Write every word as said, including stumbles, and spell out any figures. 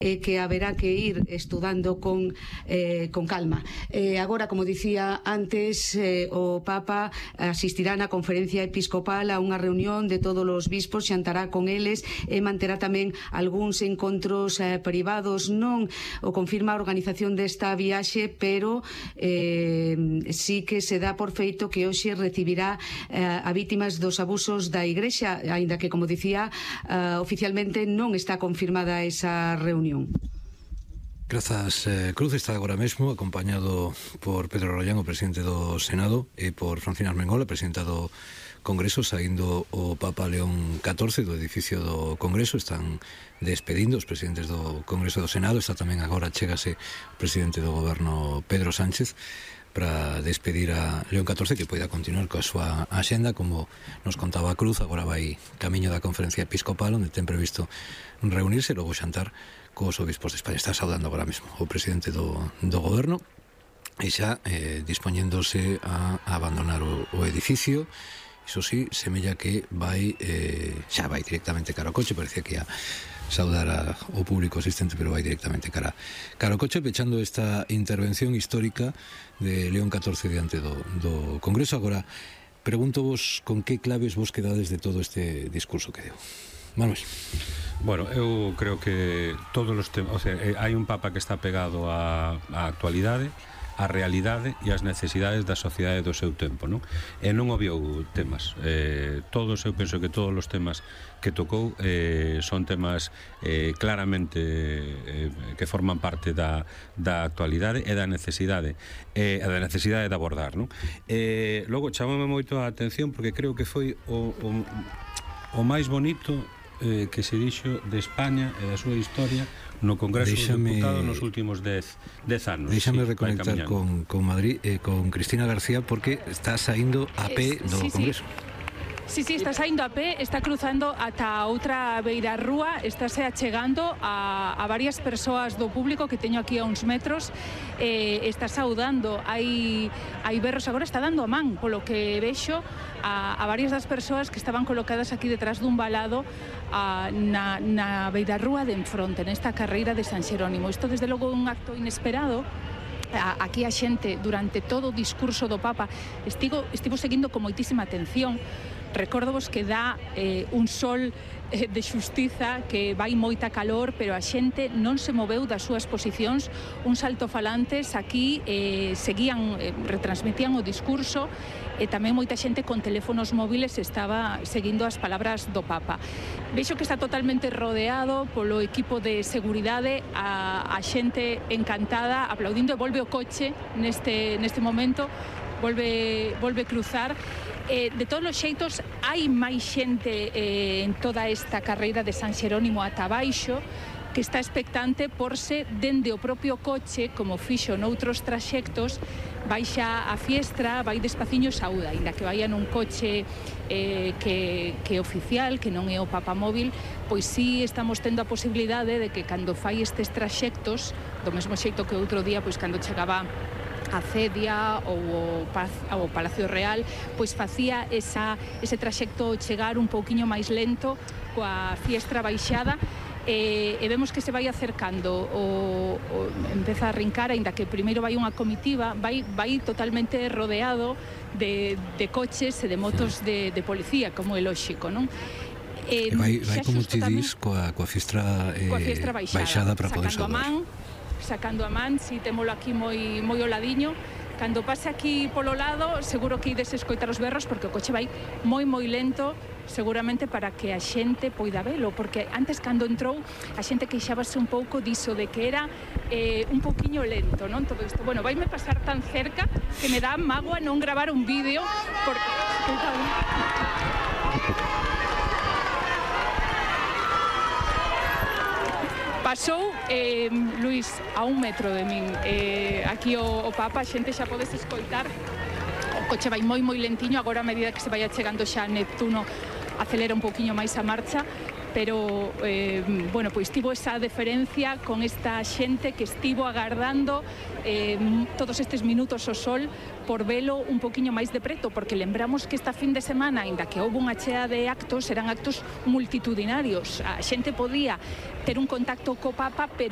e que haberá que ir estudando con, eh, con calma. Eh, agora, como dicía antes, eh, o Papa asistirá na conferencia episcopal a unha reunión de todos os bispos, xantará con eles e manterá tamén algúns encontros eh, privados. Non o confirma a organización desta viaxe, pero eh, sí que se dá por feito que hoxe recibirá eh, a vítimas dos abusos da Igrexa, aínda que, como dicía, eh, oficialmente non está confirmada esa reunión. Grazas, eh, Cruz está agora mesmo acompañado por Pedro Rollán, o presidente do Senado, e por Francina Armengol, a presidenta do Congreso, saindo o Papa León catorce do edificio do Congreso. Están despedindo os presidentes do Congreso e do Senado. Está tamén agora, chégase o presidente do Goberno, Pedro Sánchez, para despedir a León catorce, que poida continuar coa súa axenda. Como nos contaba Cruz, agora vai camiño da conferencia episcopal, onde ten previsto reunirse e logo xantar cos obispos de España. Está saudando agora mesmo o presidente do, do Goberno e xa eh, dispoñéndose a, a abandonar o, o edificio. Iso sí, semella que vai eh, xa vai directamente cara ao coche. Parecía que ia saudar ao público asistente, pero vai directamente cara, cara ao coche, pechando esta intervención histórica de León catorce diante do, do Congreso. Agora, pregunto vos con que claves vos quedades de todo este discurso que deu. Manuel. Bueno, eu creo que todos os temas, o sea, hai un Papa que está pegado á, á actualidade, a realidade e as necesidades da sociedade do seu tempo, non? E non obviou temas. Eh, todos, eu penso que todos os temas que tocou eh, son temas eh, claramente eh, que forman parte da, da actualidade e da necesidade e eh, da necesidade de abordar, non? Eh, logo, chamame moito a atención porque creo que foi o, o, o máis bonito eh, que se dixo de España e da súa historia no Congreso dos Deputados nos últimos dez anos. Déxame sí, reconectar con, con Madrid, eh, con Cristina García, porque está saindo a pé do sí, Congreso. Sí, sí, está saindo a pé, está cruzando ata a outra beira rúa, estáse achegando a, a varias persoas do público que teño aquí a uns metros, eh, está saudando, hai, hai berros, agora está dando a man, polo que vexo, a, a varias das persoas que estaban colocadas aquí detrás dun balado a, na, na beira rúa de enfronte, nesta carreira de San Xerónimo. Isto, desde logo, é un acto inesperado. Aquí a xente, durante todo o discurso do Papa, estivo, estivo seguindo con moitísima atención. Recórdovos que dá eh, un sol eh, de xustiza, que vai moita calor, pero a xente non se moveu das súas posicións. Uns altofalantes aquí eh, seguían, eh, retransmitían o discurso, e tamén moita xente con teléfonos móviles estaba seguindo as palabras do Papa. Vexo que está totalmente rodeado polo equipo de seguridade, a, a xente encantada, aplaudindo, e volve o coche neste, neste momento, volve, volve cruzar. Eh, de todos os xeitos, hai máis xente eh, en toda esta carreira de San Xerónimo ata baixo, que está expectante por se dende o propio coche, como fixo noutros traxectos, baixa a fiestra, vai despaciño saúda, ainda que vaia nun coche eh, que, que oficial, que non é o papamóvil, pois sí estamos tendo a posibilidade de que cando fai estes traxectos, do mesmo xeito que outro día, pois cando chegaba a Cedia ou o, Paz, ou o Palacio Real, pois facía esa, ese traxecto chegar un pouquiño máis lento, coa fiestra baixada, e, e vemos que se vai acercando, o, o, empeza a rincar, aínda que primeiro vai unha comitiva, vai, vai totalmente rodeado de, de coches e de motos de, de policía, como é lóxico, non? E vai, vai como ti dis, coa, coa fiestra, eh, coa fiestra baixada, baixada para poder salvar. Sacando a man, si témolo aquí moi moi ao ladiño. Cando pase aquí polo lado, seguro que ides escoitar os berros, porque o coche vai moi moi lento, seguramente para que a xente poida velo, porque antes, cando entrou, a xente queixábase un pouco diso, de que era eh, un pouquiño lento, non? Todo isto, bueno, vaime pasar tan cerca que me dá mágoa non gravar un vídeo, porque... Pasou, eh, Luís, a un metro de min. Eh, aquí o, o Papa, a xente xa podes escoitar. O coche vai moi moi lentiño, agora a medida que se vai achegando xa a Neptuno acelera un pouquiño máis a marcha, pero eh, bueno, pois tivo esa deferencia con esta xente que estivo agardando eh, todos estes minutos ao sol por velo un poquinho máis de preto, porque lembramos que esta fin de semana, ainda que houve unha chea de actos, eran actos multitudinarios. A xente podía ter un contacto co Papa, pero